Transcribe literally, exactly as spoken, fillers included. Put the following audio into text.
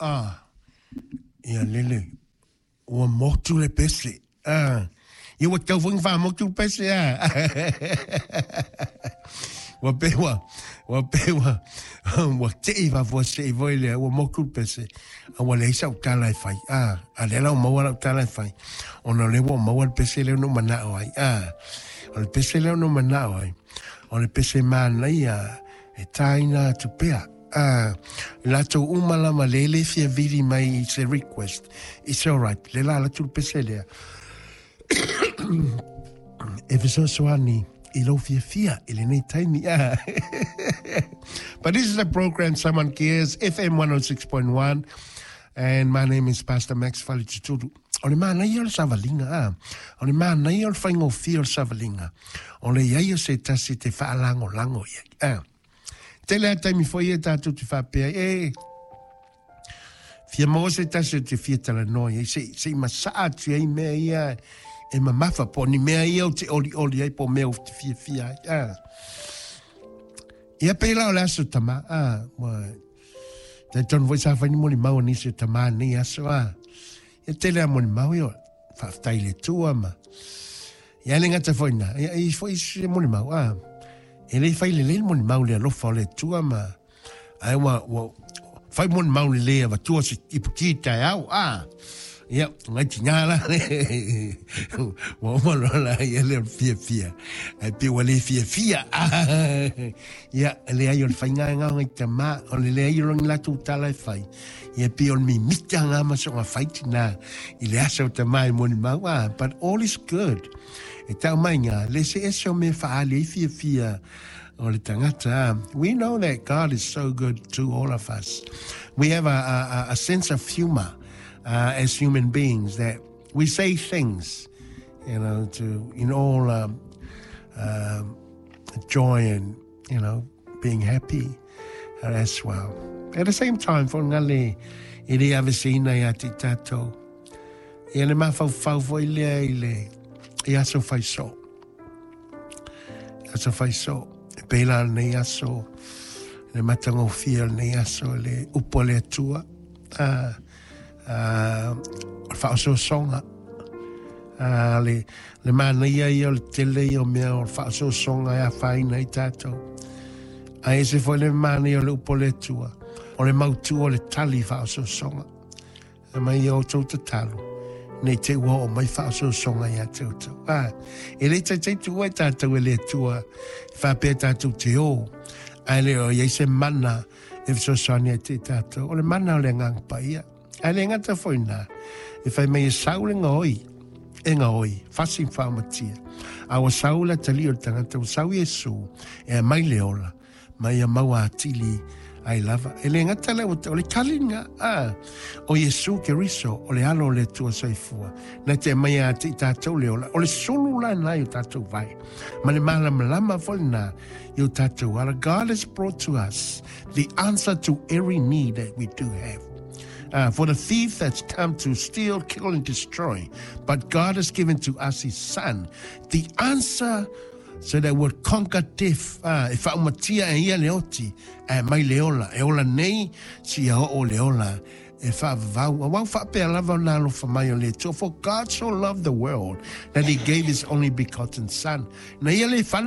Ah, ia lele, ua motu le pese. Ah, ia ua tau foi ona faamotu le pese a. Ua pei ua, ua pei ua, ua tei faafuasei foi lea, ua motu le pese. A ua leai sau tala e fai. Ah, a lea la ua maua lau tala e fai. Ona o lea ua maua le pese lea na ou manao ai. Ah, o le pese lea na ou manao ai. O le pese manaia e taina atu pea. Ah, latou uma lava le le fia vili mai i se request. It's all right. Le la alu atu le pese lea. E fesoasoani i lou fiafia i lenei taimi. Ah. But this is a program Someone Cares, F M one oh six point one. And my name is Pastor Max Falituturu. O le manaia o le savaliga, ah. O le manaia o le faigofie o le savaliga. O le iai o se tasi te faalagolago i ai. Ah. Tele a taimi foi e tātou te faapea, e fia maua se tasi o te fia talanoa i ai, se, se i masaa atu ai mea ia e mamafa, po ni mea ia o te oli oli ai, po mea o te fia fia ai. Ah. Ia pēlā o le aso tama, ah, ua, tai tonu foi sa whai ni moni mau nisi o tama nei aso, ah. Ia tele a moni mau ia, whaaftai le tua ma. Ia le ngata foi nā, ia i foi se moni mau, ah. E le whai le le moni mau le alofa o le tua ma. Ai ua, ua, whai moni mau le lea wa tua se ipu ki tai au, ah. Ia, ngai ti ngā la. Ua uma loa la, ia le fia fia. Ai pe ua le fia fia. Ia, le ai o le whai ngā ngā ngai tama, o le le ai o longi latu tala e whai. Ia pe o le mimita ngā maso ngā whai tina. I le asa o tama e moni mau, ah. But all is good. E tau mai ngā, le se ese o me whaali e fia fia o le tangata. We know that God is so good to all of us. We have a, a, a sense of humor, uh, as human beings, that we say things, you know, to in all, um, um, joy and, you know, being happy as well. At the same time, for ngale, i le avesina ia te tātou. Ia le mawhauwhau foi lea i le i aso whai so. Aso whai so. E pēlā nei aso, le matangofia nei aso, le upo le atua. Ah, ah, o le whaososoga. Ah, le, le manaia ia o le tele ia o mea o le whaososoga e a whaina i tātou. A e se foi le manaia o le upo le atua. O le mautua o le tali whaososoga. A mai ia o tau tatalo. Nei te ua o mai whaososoga ia te utu. Ah, e le taitai tua e tātou e le atua. Whapea tātou te o. A le o iei se mana e whasosoani e te tātou. O le mana o le nganga paia. A le ngata foi nā. E whai mai e saule ngā oi. E ngā oi. Whasi whaamatia. A o saula tali o le tangata. O sau Iesu. E a mai le ola. Mai a maua atili ai lava. E le ngata le o le kalinga. Ah, o Iesu Keriso, o le alo o le tua soifua. Na te mai a te tātou le ola. O le sulu la nai o tātou vai. Ma le malamalama foi nā i o tātou ala. God has brought to us the answer to every need that we do have. Uh, for the thief that's come to steal, kill, and destroy. But God has given to us his son, the answer so that we'll conquer death. Ah, e whaomatia e ia le oti, e mai le ola. E ola nei, si a o le ola. E whaavau. A wau whaapea lava o nā alofa mai o le Atua. For God so loved the world that he gave his only begotten son. Na ia le whanu